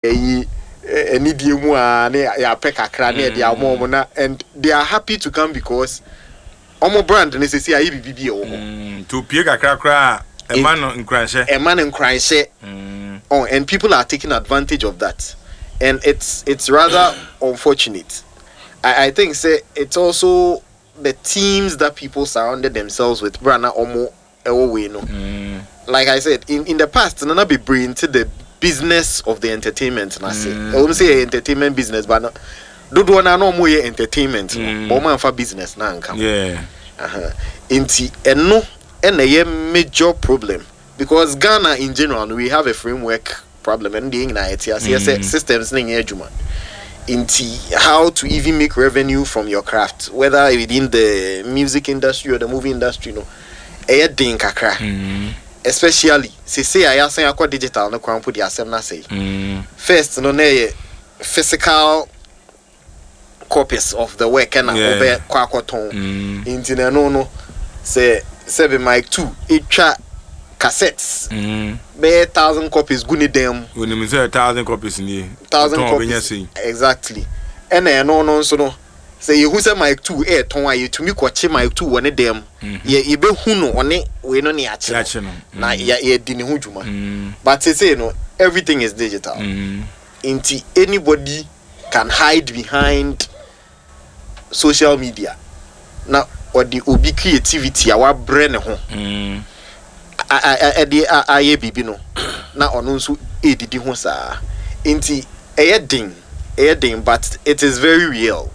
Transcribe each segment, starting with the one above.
Ɛyi anidie mu aa ne yɛapɛ kakra ne yɛde ama wɔn na and they are happy to come because wɔn brand no sɛsi ayɛ biribi bi ɛwɔ hɔ. Nti opie kakra koraa a ɛma no nkuranhyɛ. Ɛma no nkuranhyɛ oh and people are taking advantage of that and it's it's rather unfortunate I I think sɛ it's also the teams that people surrounded themselves with bere a na wɔn ɛwɔ wei no like I said in in the past no na bebree nte the business of the entertainment no ase ɛwɔ mu sɛ yɛ entertainment business but no dodoɔ no a na wɔn yɛ entertainment no but wɔn anfa business no anka ho Aha. Nti ɛno ɛna ɛyɛ major problem because Ghana in general no we have a framework problem ɛno deɛ yɛn nyinaa yɛte aseɛ sɛ systems no nyɛ adwuma nti how to even make revenue from your craft whether within the music industry or the movie industry no ɛyɛ den kakra especially sesei a yɛasan akɔ digital no koraa mpo deɛ asɛm no asɛe first no na ɛyɛ physical copies of the work ɛna wobɛ kɔ akɔtɔn mm. nti na ɛno no sɛ sɛbi mic two etwa cassettes mm. bɛyɛ thousand copies gu ne dan mu. Onim sɛ thousand copies nie. Thousand copies exactly ɛna ɛno no nso no sɛ yehu sɛ mic two ɛɛtɔn a yɛtumi kɔkye mic two wɔ ne dan mu mm-hmm. yɛ yɛbɛhu no ɔne wei no ne yɛakye no na mm. yɛdi ne ho dwuma mm. But sese no everything is digital nti anybody can hide behind social media na ɔde obi creativity a wabrɛ ne ho ɛde ayɛ biribi no na ɔno nso ɛredidi ho saa nti ɛyɛ den ɛyɛ den but it is very real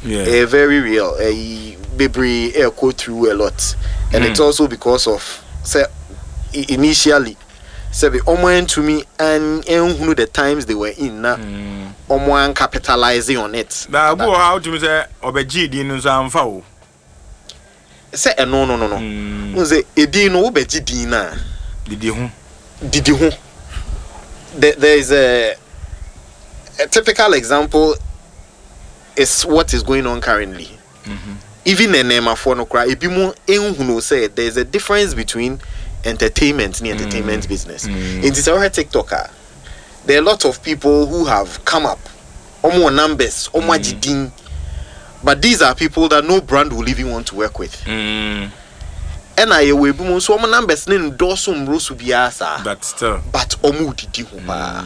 ɛyɛ very real ɛyi bebree ɛrekɔ through a lot and it's also because of sɛ initially Sɛbe ɔmo antumi anhunu the times they were in na ɔmo an capitalise on it. Na obi wɔ hɔ a wotumi sɛ ɔbɛgyee din no nso amfa o. Sɛ ɛno no no no. Wohu sɛ edin no wobɛgye din no a. Didi ho. Didi ho. There, there is a, a typical example is what is going on currently. Even nnɛɛmafoɔ no koraa ebinom nhunuu sɛ there is a difference between entertainment ne entertainment business. Nti sɛ wohwɛ TikTok a, there are a lot of people who have come up, wɔn wɔ numbers, wɔn agye din, but these are people that no brand will even want to work with. Ɛna yɛwɔ ebinom nso wɔn numbers no ndɔɔso mmoro so biara saa, But still. But wɔn redidi ho paa.